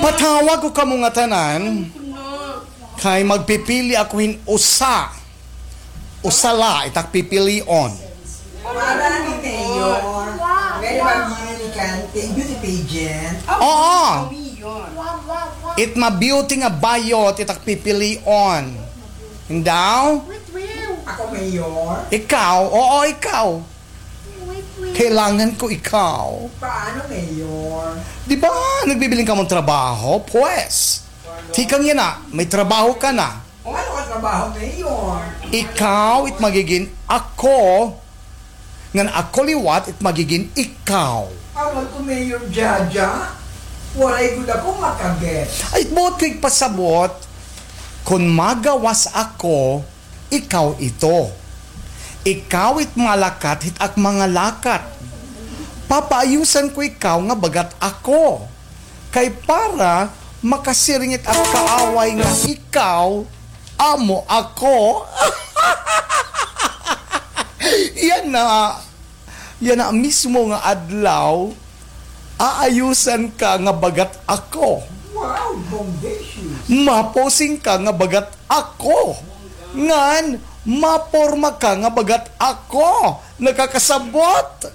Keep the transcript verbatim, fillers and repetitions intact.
Patawag ko kamo ngatanan, kay magpipili ako hin usa. Usa la it ak pipilion. Para ni Mayor, pwede ba beauty contest, beauty pageant? Oo. It ma-beauty nga bayot it ak pipilion. Daw? Ako, Mayor? Ikaw? Oo, ikaw. Kailangan ko ikaw. Paano, Mayor? Di ba, nagbibiling kamo hin trabaho? Pwes, tikang yana, may trabaho ka na. O, ano nga trabaho, Mayor? Ikaw it magigin ako, ngan ako liwat it magigin ikaw. Awan ko, Mayor Jaja. Waray gud ako makaget. Ay, buot ko igpasabot, kon magawas ako, ikaw ito. Ikaw it malakat hit ak mga lakat. Papaayusan ko ikaw nga bagat ako. Kay para makasiring it ak kaaway nga ikaw amo ako. Yana, yana mismo nga adlaw, aayusan ka nga bagat ako. Wow, bombastic. Maposing ka nga bagat ako. Ngan, maporma ka nga bagat ako. Nakakasabot.